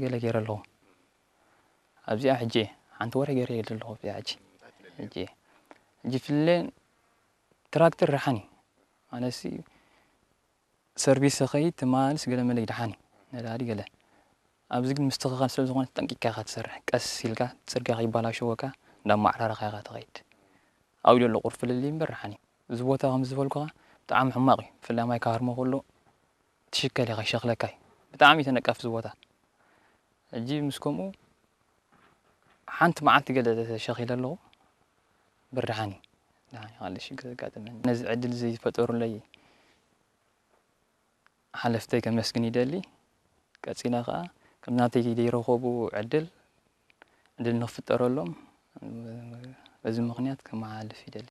ገለ ገይረ ኣለኹ። ኣብዚኣ ሕጂ ሓንቲ ወረ ገይረ ኣለኹ። ኣብዚኣ ሕጂ ሕጂ ሕጂ ፍለ ትራክተር ረሓኒ ኣነሲ ሰርቪስ ኸይድ ትማልስ ገለ መለ ይድሓኒ ነዳዲ ገለ ኣብዚ ግን ምስትኽኻል ስለ ዝኾነ ጠንቂካ ኢኻ ትሰርሕ። ቀስ ኢልካ ጽርግያ ከይባላሸወካ እንዳማዕራረኻ ኢኻ ትኸይድ። ኣብኡ ዘሎ ቁርፍልሊ እምበር ረሓኒ። እዚ ቦታ ከም ዝበልኩኻ ብጣዕሚ ሕማቕ እዩ። ብፍላይ ማይ ካርሞ ከሎ ትሽከል ኢኻ ይሸኽለካ እዩ። ብጣዕሚ እዩ ተነቃፊ እዚ ቦታ። ሕጂ ምስ ከምኡ ሓንቲ መዓልቲ ገለ ተሸኺለ ኣለኹ። ብርድሓኒ ደሓን ይኻል ሽግር ዘጋጥመኒ ነዚ ዕድል እዚ ዝፈጠሩለይ ሓለፍተይ ከመስግን ይደሊ። ቀጺላ ከኣ ከም ናተይ ዘይረኸቡ ዕድል ዕድል ንኽፍጠረሎም በዚ ምኽንያት ከመሓላልፍ ይደሊ።